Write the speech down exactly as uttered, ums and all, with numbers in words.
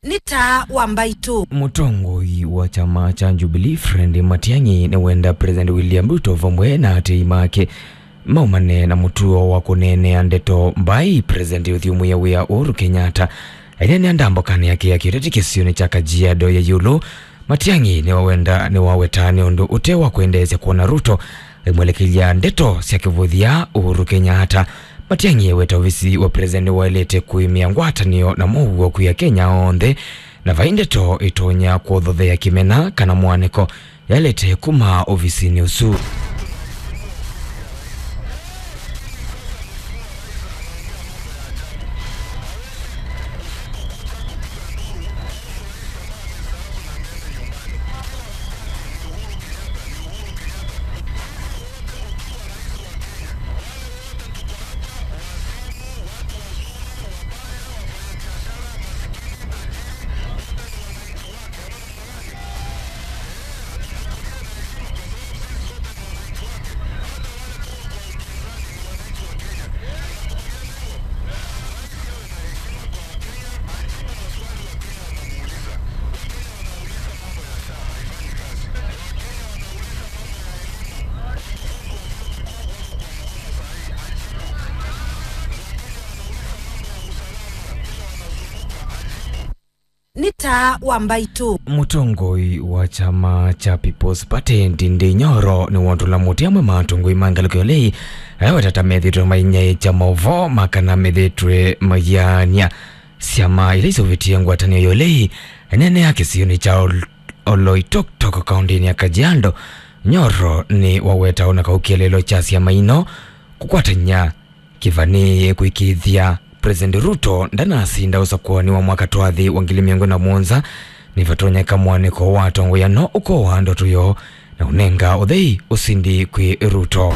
Nĩ taa wa mbaitũ. Mũtongoi wa kyama kya Jubilee, Fred Matiang'i, nĩwenda President William Ruto vamwe na atei make maumane na mũtuo wa kũneenea ndeto mbai President ũthyũmũĩa wĩa Uhuru Kenyatta. Aineenea ndambũkanĩ yake ya kĩũteti kĩsionĩ kya Kajiado ya ĩũlũ, Matiang'i nĩwawenda, nĩwaweta nĩ ũndũ ũte wa kwendeesya kwona Ruto aimwelekelya ndeto sya kĩvũthya Uhuru Kenyatta. Matiang'i eweta ovisi wa President nĩwaĩlĩte kũĩmĩa ngwatanĩo na mũuo kwĩ Akenya onthe, na vai ndeto ĩtonya kũthothea kĩmena kana mwanĩko yaĩlĩte kuma ovisinĩ ũsu. Nĩ taa wa mbaitũ. Mũtongoi wa kyama kya People's Party, Ndindi Nyoro, nĩwotũla mũtĩ amwe ma atongoi ma ngalĩko ya ũlei, ala wetata methĩtwe mainyaĩĩkya maũvoo ma kana methĩtwe maiaany'a syama ila iseũvĩtye ngwatanĩo ya ũlei nene ya kĩsionĩ kya Ol-, Oloitoktok, kaũntĩnĩ ya Kajiado. Nyoro nĩwaweta ona kau kĩeleelo kya syama ino kũkwatany'a kĩvanĩĩe kũĩkĩĩthya President Ruto ndanasinda ũsakũanĩ wa mwaka twathi wa ngili mĩongo na mũonza, nĩvatonyeka mwanĩko wa atongoi ano ũkoa ndoto yoo na ũnenga ũthei ũsindi kwĩ Ruto.